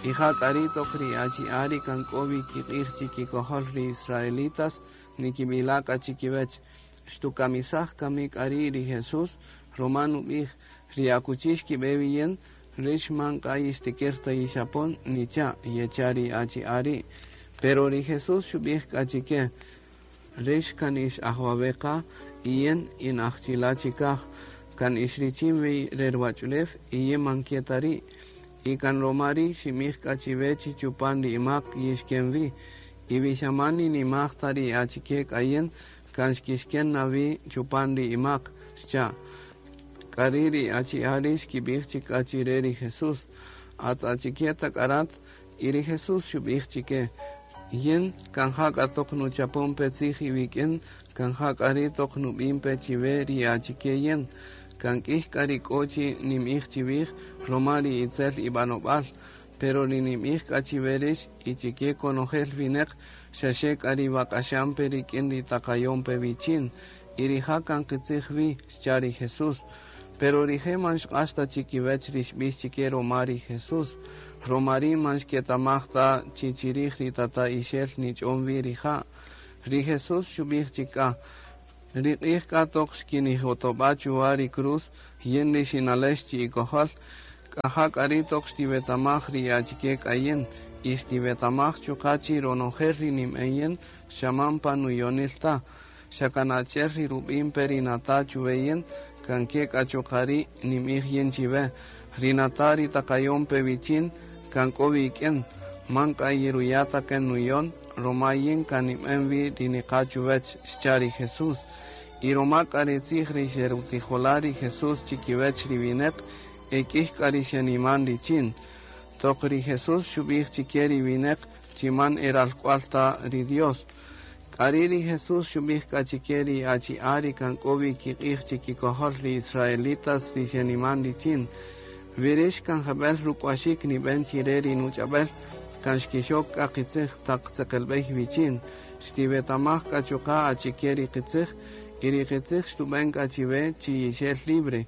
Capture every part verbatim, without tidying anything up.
Y ja k'a ri' toq ri achi'a' ri kan k'o wi kiq'ij chikikojol ri israelitas nikib'ila' k'a chikiwech: Xtukamisaj kami k'a ri' ri Jesús? Ruma nub'ij: Ri akuchi xkib'e wi yin, rix man k'a yixtikir ta yixapon, nicha', yecha' ri achi'a' ri'. Pero ri Jesús xub'ij k'a chike: Rix kan ix aj wawe' qa y yin in aj chila' chikaj, kan ix richin wi re ruwach'ulew y yin man ke ta ri'. Y kan roma ri' xinb'ij k'a chiwe chi chupan ri imak yixken wi. Y wi xa man ninimaj ta ri achike k'a yin, kan xkixken na wi chupan ri imak, xcha'. K'ari' ri achi'a' ri' xkib'ij chik k'a chire ri Jesús: At achike ta k'a rat? Y ri Jesús xub'ij chike: Yin kan ja k'a toq nuchapon pe tzij iwik'in, kan ja k'a ri' toq nub'in pe chiwe ri achike yin. Kan k'ij k'a ri k'o chi ninb'ij chiwij roma ri itzel ib'anob'al, pero ri ninb'ij k'a chiwe rix y chike konojel wineq, xaxe k'a ri wak'axan pe rik'in ri taqayon pe wichin. Y rija' kan qitzij wi, xcha' ri Jesús. Pero rije' man xq'ax ta chikiwech ri xb'ix chike roma ri Jesús. Roma ri' man xketamaj ta chi chirij ri Tata'ixel nich'on wi rija'. Ri Jesús xub'ij chik k'a: Ri q'ij k'a toq xkinijotob'a' chuwa ri cruz, yin ri xinalex chi'ikojol, k'a ja k'a ri' toq xtiwetamaj ri achike k'a yin, y xtiwetamaj chuqa' chi ronojel ri ninb'en yin xa man pa nuyonil ta, xa kan achi'el ri rub'in pe ri nata' chuwe yin, kan ke k'a chuqa' ri' ninb'ij yin chiwe. Ri nata' ri taqayon pe wichin kan k'o wik'in, man k'a yiruya' ta kan nuyon, roma yin kan ninb'en wi ri niqa' chuwech, xcha' ri Jesús. Y roma k'a ri tzij ri xerutzijola' ri Jesús chikiwech ri wineq, e k'ij k'a ri xeniman richin. Toq ri Jesús xub'ij chike ri wineq chi man e ralk'wal ta ri Dios. K'ari' ri Jesús xub'ij k'a chike ri achi'a' ri kan k'o wi kiq'ij chikikojol ri israelitas ri xeniman richin: Wi rix kan jeb'el ruk'waxik nib'en chire ri nuch'ab'el, kan xkixok k'a qitzij taq tzeqelb'ey wichin. Xtiwetamaj k'a chuqa' achike ri qitzij, y ri qitzij xtub'en k'a chiwe chi yixel libre.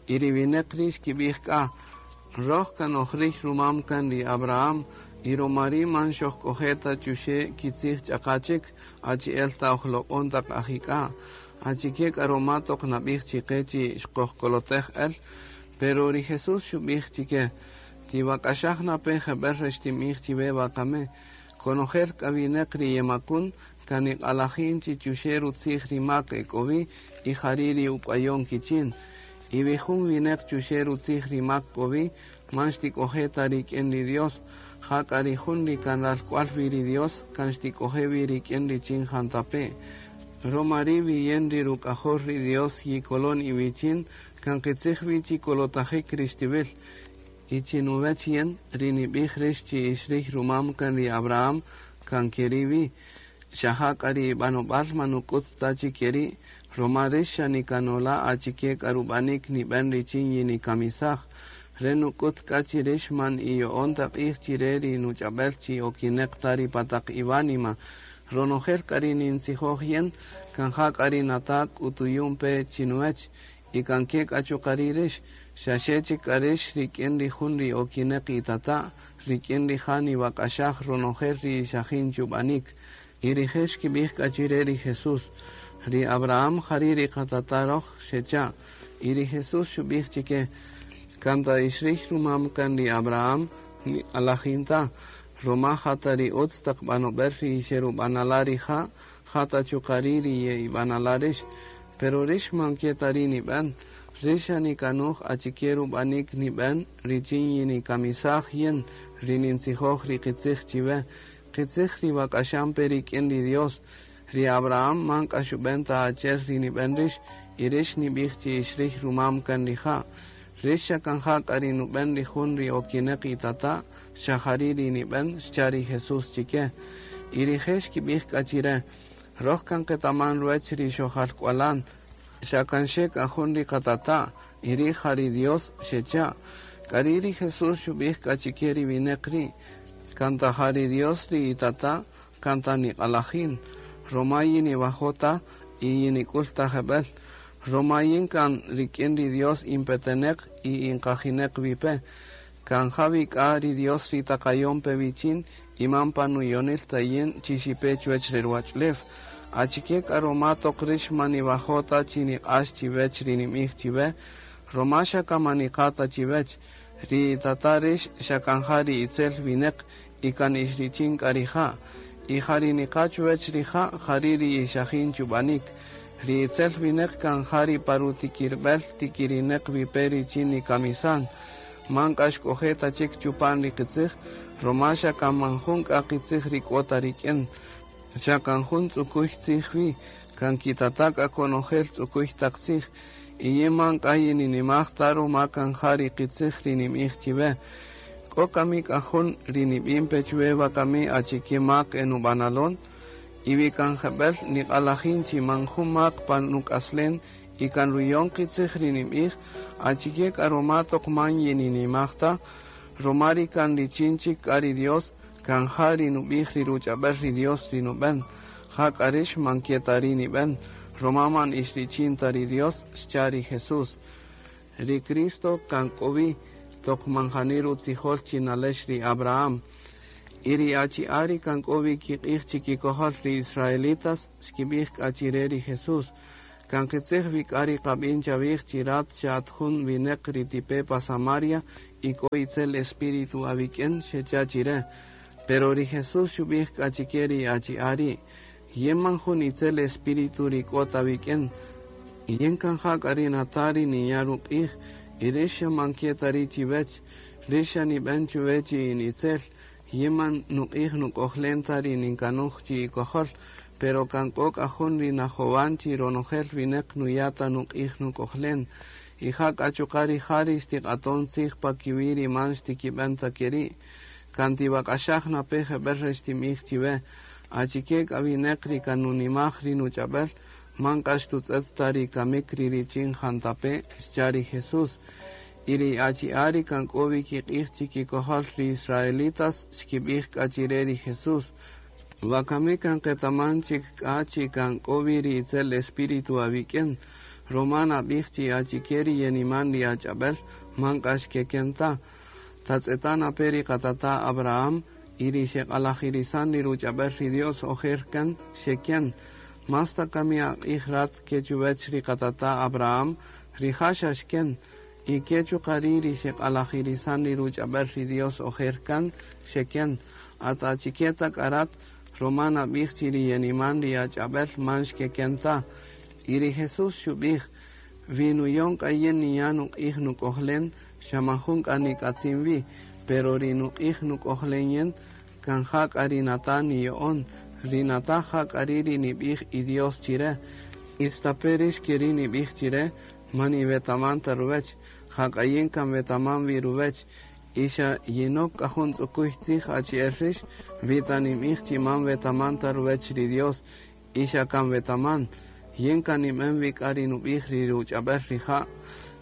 Y ri wineq ri' xkib'ij k'a: Roj kan oj riy rumam kan ri Abraham, y roma ri' man xojk'oje' ta chuxe' kitzij ch'aqa chik, achi'el ta oj loq'on taq ajik'a'. Achike k'a roma toq nab'ij chiqe chi xqojkolotej el? Pero ri Jesús xub'ij chike: Tiwak'axaj na pe jeb'el re xtinb'ij chiwe wakami. Konojel k'a wineq ri yemakun, kan niq'alajin chi chuxe' rutzij ri mak e k'o wi, y jari' ri uk'wayon kichin. Y wi jun wineq chuxe' rutzij ri mak k'o wi, man xtik'oje' ta rik'in ri Dios. Ja k'a ri jun ri kan ralk'wal wi ri Dios, kan xtik'oje' wi rik'in richin jantape'. Roma ri' wi yin ri ruk'ajol ri Dios yikolon iwichin, kan qitzij wi chi kolotajik ri xtiwil. Y chinuwech yin, ri nib'ij rix chi ix riy rumam kan ri Abraham, kan keri' wi. Xa ja k'a ri ib'anob'al man nuk'ut ta chi keri', roma rix xa nikanola' achike k'a rub'anik nib'en richin yinikamisaj. Re nuk'ut k'a chi rix man iyo'on ta q'ij chire ri nuch'ab'el chi okineq ta ri pa taq iwánima. Ronojel k'a ri nintzijoj yin, kan ja k'a ri nata' k'utuyun pe chinuwech, y kan ke k'a chuqa' ri' rix, xaxe chik k'a rix rik'in ri jun ri okineq itata', rik'in rija' niwak'axaj ronojel ri xajin chub'anik. Y rije' xkib'ij k'a chire ri Jesús: Ri Abraham jari' ri qatata' roj, xecha'. Y ri Jesús xub'ij chike: Kan ta ix riy rumam kan ri Abraham, niq'alajin ta, roma ja ta ri utz taq b'anob'el ri xerub'anala' rija', ja ta chuqa' ri' ri ye'ib'anala' rix. Pero rix man ke ta ri' nib'en. Rix xa nikanuj achike rub'anik nib'en richin yinikamisaj yin ri nintzijoj ri qitzij chiwe. Qitzij ri wak'axan pe rik'in ri Dios. Ri Abraham man k'a xub'en ta achi'el ri nib'en rix, y rix nib'ij chi ix riy rumam kan rija'. Rix xa kan ja k'a ri nub'en ri jun ri okineq itata', xa jari' ri nib'en, xcha' ri Jesús chike. Y rije' xkib'ij k'a chire: Roj kan qetaman ruwech ri xojalk'walan, xa kan xe k'a jun ri qatata', y ri' ja ri Dios, xecha'. K'ari' ri Jesús xub'ij k'a chike ri wineq ri': Kan ta ja ri Dios ri itata', kan ta niq'alajin, roma yiniwajo' ta y yinik'ul ta jeb'el. Roma yin kan rik'in ri Dios inpeteneq y inqajineq wi pe. Kan ja wi k'a ri Dios ri taqayon pe wichin y man pa nuyonil ta yin chi xipe chuwech re ruwach'ulew. Achike k'a roma toq rix man niwajo' ta chi niq'ax chiwech ri ninb'ij chiwe, roma xa kan man niqa' ta chiwech. Ri tata' rix xa kan ja ri itzel wineq y kan ix richin k'a rija'. Y ja ri niqa' chuwech rija', jari' ri ixajin chub'anik. Ri itzel wineq kan ja ri pa rutikirb'el tikirineq wi pe richin nikamisan. Man k'a xk'oje' ta chik chupan ri qitzij, roma xa kan man jun k'a qitzij ri k'o ta rik'in. Xa kan jun tz'ukuy tzij wi, kan kitata' k'a konojel tz'ukuy taq tzij. Y yin man k'a yininimaj ta roma kan ja ri qitzij ri ninb'ij chiwe. K'o kami k'a jun ri nib'in pe chuwe wakami achike mak enub'analon, y wi kan jeb'ël niq'alajin chi man jun mak pan nuk'aslen y kan ruyon qitzij ri ninb'ij, achike k'a roma toq man yininimaj ta, roma ri kan richin chik k'a ri Dios, kan ja ri nub'ij ri ruch'ab'el ri Dios ri nub'en. Ja k'a rix man ke ta ri nib'en, roma man ix richin ta ri Dios, xcha' ri Jesús. Ri Cristo kan k'o wi toq man jani rutzijol chi nalex ri Abraham. Y ri achi'a' ri kan k'o wi kiq'ij chikikojol ri israelitas xkib'ij k'a chi re ri Jesús. Kan qitzij wi k'a ri qab'in chawij chi rat xa at jun wineq ri tipe pa Samaria y k'o itzel espíritu awik'in, xecha' chi re. Pero ri Jesús xub'ij k'a chike ri achi'a' ri': Yin man jun itzel espíritu ri k'o ta wik'in. Yin kan ja k'a ri nata' ri ninya' ruq'ij, y rix xa man ke ta ri' chiwech. Rix xa nib'en chuwe chi in itzel. Yin man nuq'ij nuk'ojlen ta ri ninkanuj chi ikojol, pero kan k'o k'a jun ri najowan chi ronojel wineq nuya' ta nuq'ij nuk'ojlen. Y ja k'a chuqa' rija' ri xtiq'aton tzij pa kiwi' ri man xtikib'en ta keri'. Kan tiwak'axaj na pe jeb'ël re xtinb'ij chiwe. Achike k'a wineq ri kan nunimaj ri nuch'ab'el, man k'a xtutz'et ta ri kamik ri richin jantape', xcha' ri Jesús. Y ri achi'a' ri kan k'o wi kiq'ij chikikojol ri israelitas xkib'ij k'a chi re ri Jesús. Wakami kan qetaman chik k'a chi kan k'o wi ri itzel espíritu awik'in. Roma nab'ij chi achike ri yeniman ri ach'ab'el, man k'a xkeken ta. Tatz'eta' na pe ri qatata' Abraham y ri xeq'alajirisan ri ruch'ab'el ri Dios ojer kan xeken. Más ta kami aq'ij rat ke chuwech ri qatata' Abraham, rija' xa xken. Y ke chuqa' ri' ri xeq'alajirisan ri ruch'ab'el ri Dios ojer kan xeken. At achike ta k'a rat, roma nab'ij chi ri yeniman ri ach'ab'el man xkeken ta. Y ri Jesús xub'ij: Wi nuyon k'a yin ninya' nuq'ij nuk'ojlen, xa man jun k'a nik'atzin wi, pero ri nuq'ij nuk'ojlen yin, kan ja k'a ri nata' niyo'on. Ri nata' ja k'a ri' ri nib'ij i Dios chi re. Istape' rix keri' nib'ij chi re, man iwetaman ta ruwech. Ja k'a yin kan wetaman wi ruwech. Y xa yinok k'a jun tz'ukuy tzij achi'el rix, wi ta ninb'ij chi man wetaman ta ruwech ri Dios, y xa kan wetaman. Yin kan ninb'en wi k'a ri nub'ij ri ruch'ab'el rija'.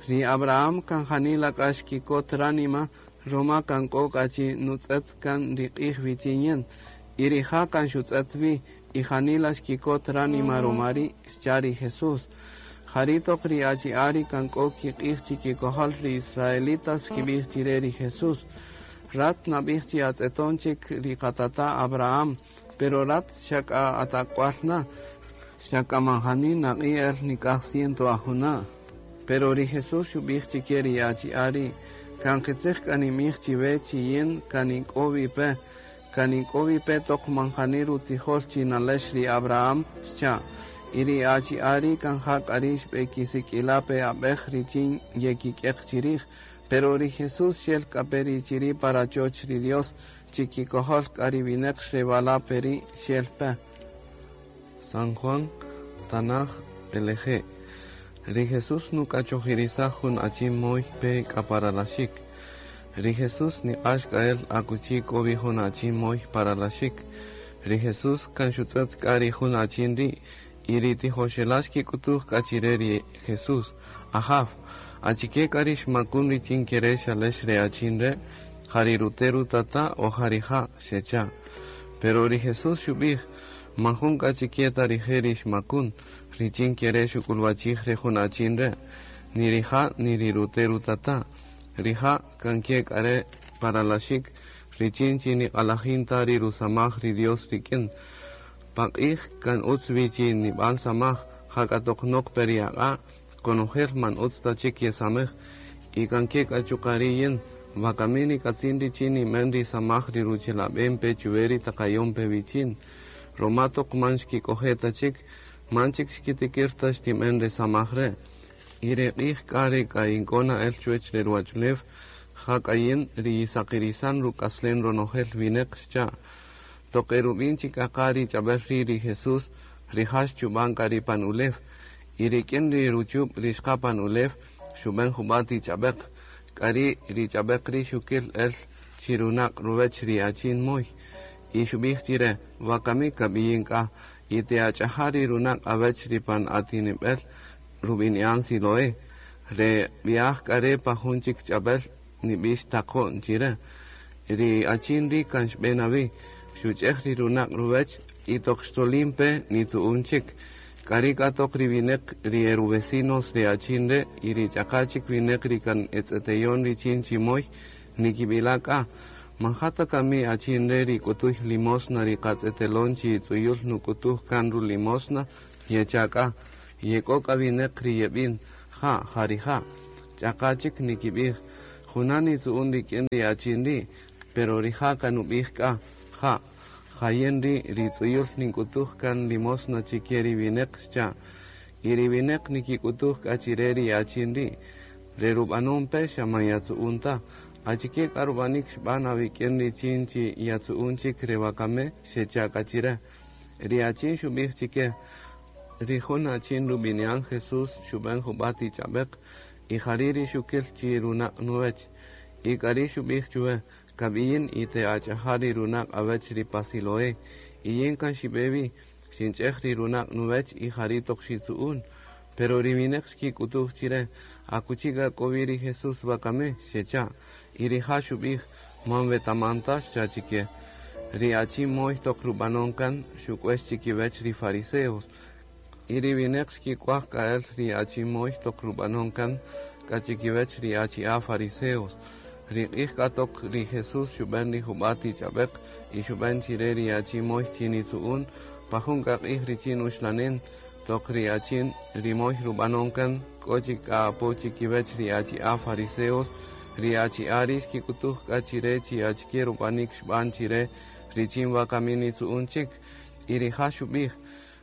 Ri Abraham kan janila k'a xkikot ránima, roma kan k'o k'a chi nutz'et kan ri q'ij wichin yin. Y rija' kan xutz'et wi, y janila xkikot ránima roma ri', xcha' ri Jesús. Jari' toq ri achi'a' ri kan k'o kiq'ij chikikojol ri israelitas xkib'ij chi re ri Jesús. Rat nab'ij chi atz'eton chik ri qatata' Abraham, pero rat xa k'a at ak'wal na, xa k'a man jani naq'i' el nik'aj ciento ajuna'. Pero ri Jesús xub'ij chike ri achi'a' ri': Kan qitzij k'a ninb'ij chiwe chi yin kan ink'o wi pe, kan ink'o wi pe toq man jani rutzijol chi nalex ri Abraham, xcha'. Y ri achi'a' ri' kan ja k'a ri' xb'ekisik'ila' pe ab'ej richin yekik'eq chirij. Pero ri Jesús xel k'a pe ri chiri' pa rachoch ri Dios, chikikojol k'a ri wineq xrewala' pe ri' xel pe. San Juan, Tanaj, B'eleje'. Ri Jesús nuk'achojirisaj jun achin moy pe k'a paralaxik. Ri Jesús niq'ax k'a el akuchi k'o wi jun achin moy paralaxik. Ri Jesús kan xutz'et k'a ri jun achin ri', y ri tijoxela' xkik'utuj k'a chi re ri Jesús: Ajaw, achike k'a ri xmakun richin kere' xalex re achin re', ja ri rute' rutata' o ja rija', xecha'. Pero ri Jesús xub'ij: Man jun k'a chike ta rije' ri xmakun, richin kere' xuk'ulwachij re jun achin re', ni rija' ni ri rute' rutata'. Rija' kan ke k'a re' pa ralaxik, richin chi niq'alajin ta ri rusamaj ri Dios rik'in. Paq'ij kan utz wi chi niban samaj, jak'a toq nok-pe ri aq'a', konojel man utz ta chik yesamej. Y kan ke k'a chuqa' ri' yin, wakami nik'atzin richin ninben ri samaj ri ruchelaben-pe chuwe ri taqayon-pe wichin. Roma toq man xkik'oje' ta chik, man chik xkitikir ta xtinben re samaj re'. Y re q'ij k'a re k'a ink'o na el chuwech re ruwach'ulew, ja k'a yin ri yisaqirisan ruk'aslen ronojel wineq, xcha'. Toq erub'in chik k'a qa ri ch'ab'äl ri' ri Jesús, rija' xchub'an k'a ri pan ulew. Y rik'in ri ruchub' ri xqa pan ulew, xub'en jub'a' ti ch'ab'äq. K'ari' ri ch'ab'äq ri' xukil el chi runaq' ruwech ri achin moy. Y xub'ij chire, wakami kab'iyin k'a, y te'ach'aja' ri runaq' awech ri pan atinib'el rub'ini'an Siloé. Re b'i'aj k'a re' pa jun chik ch'ab'äl nib'ix taqo'n chire. Ri achin ri' kan xb'e na wi, xuch'ej ri runaq' ruwech y toq xtzolin pe nitzu'un chik. K'ari' k'a toq ri wineq ri eruvecinos ri achin re' y ri ch'aqa chik wineq ri kan etz'eteyon richin chi moy nikib'ila' k'a, man ja ta kami achin re' ri k'utuy limosna ri qatz'etelon chi tz'uyul nuk'utuj kan rulimosna, yecha' k'a. Yek'o k'a wineq ri yeb'in, ja, ja rija'. Ch'aqa chik nikib'ij, junan nitzu'un rik'in ri achin ri', pero rija' kan nub'ij k'a, ja, ja yin ri' ri tz'uyul nink'utuj kan limosna chike ri wineq, xcha'. Y ri wineq nikik'utuj k'a chire ri achin ri', re rub'anon pe xa man yatzu'un ta. Achike k'a rub'anik xb'an awik'in richin chi yatzu'un chik re wakame, xecha' k'a chire. Ri achin xub'ij chike, ri jun achin rub'ini'an Jesús xub'en jub'a' ti ch'ab'äq y jari' ri xukil chi runaq' nuwech. Y k'ari' xub'ij chuwe, kab'iyin y te'ach'aja' ri runaq' awech ri pa Siloé. Y yin kan xib'e wi, xinch'ej ri runaq' nuwech y jari' toq xitzu'un. Pero ri wineq xkik'utuj chire, akuchi k'a k'o wi ri Jesús wakame, xecha'. Y rija' xub'ij, man wetaman ta, xcha' chike. Ri achin moy toq rub'anon kan xuk'uex chikiwech ri fariseos. Y ri wineq xkik'uaj k'a el ri achin moy toq rub'anon kan k'a chikiwech ri achi'a' fariseos. Ri q'ij k'a toq ri Jesús xub'en ri jub'a' ti ch'ab'äq y xub'en chire ri achin moy chi nitzu'un, pa jun k'a q'ij richin uxlanen, toq ri achin ri moy rub'anon kan k'o chik k'a apo chikiwech ri achi'a' fariseos, ri achi'a' ri' xkik'utuj k'a chire chi achike rub'anik xb'an chire richin wakami nitzu'un chik. Y rija' xub'ij,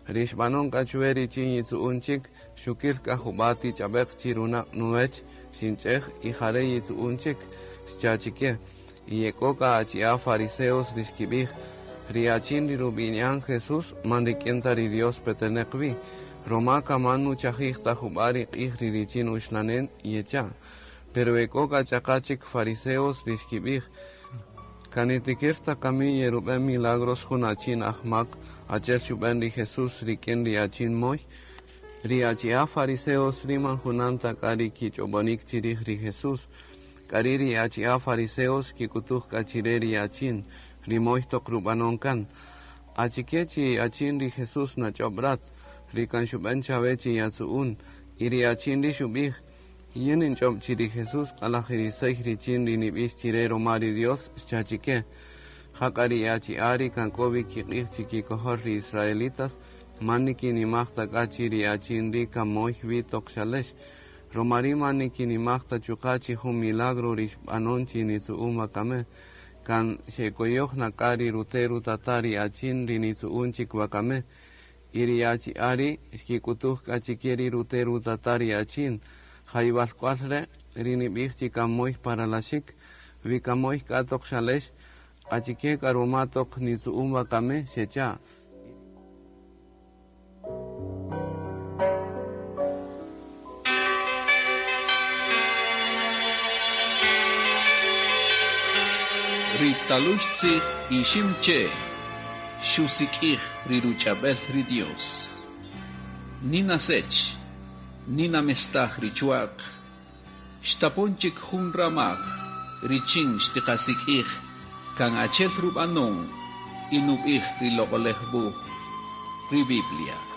ri xb'anon k'a chuwe richin yitzu'un chik, xukil k'a jub'a' ti ch'ab'äq chi runaq' nuwech, xinch'ej y jare' yitzu'un chik, xcha' chike. Y yek'o k'a achi'a' fariseos ri xkib'ij, ri achin ri rub'ini'an Jesús man rik'in ta ri Dios peteneq wi, roma kaman nuchajij ta jub'a' ri q'ij ri richin uxlanen yecha'. Pero ek'o k'a ch'aqa chik fariseos ri xkib'ij, kan nitikir ta kami yerub'en milagros jun achin ajmak, achi'el xub'en ri Jesús rik'in ri achin moy. Ri achi'a' fariseos ri man junan ta k'a ri kich'ob'onik chirij ri Jesús. K'ari' ri achi'a' fariseos xkik'utuj k'a chire ri achin, ri moy toq rub'anon kan. Achike chi achin ri Jesús nach'ob' rat, ri kan xub'en chawe chi yatzu'un. Y ri achin ri xub'ij, yin ninch'ob' chi ri Jesús q'alajirisey richin ri nib'ix chire roma ri Dios, xcha' chike. Jak'a ri achi'a' ri kan k'o wi kiq'ij chikikojol ri israelitas, man nikinimaj ta k'a chi ri achin ri' kan moy wi toq xalex. Roma ri' man nikinimaj ta chuqa' chi jun milagro ri xb'anon chi nitzu'un wakame. Kan xekoyoj na k'a ri rute' rutata' ri achin ri nitzu'un chik wakame. Y ri achi'a' ri' xkik'utuj k'a chike ri rute' rutata' ri achin. Ja iwalk'wal re' ri nib'ij chi kan moy paralaxik, wi kan moy k'a toq xalex, achike k'a roma toq nitzu'un wakame, xecha'. Ri talux tzij ixim che, xusik'ij ri ruch'ab'el ri Dios. Nina sech, nina mestaj ri chuaq, xtapon chik jun ramaj, richin xtiqasik'ij, kan achel rub'anon, y nub'ij ri loq'olej wuj, ri Biblia.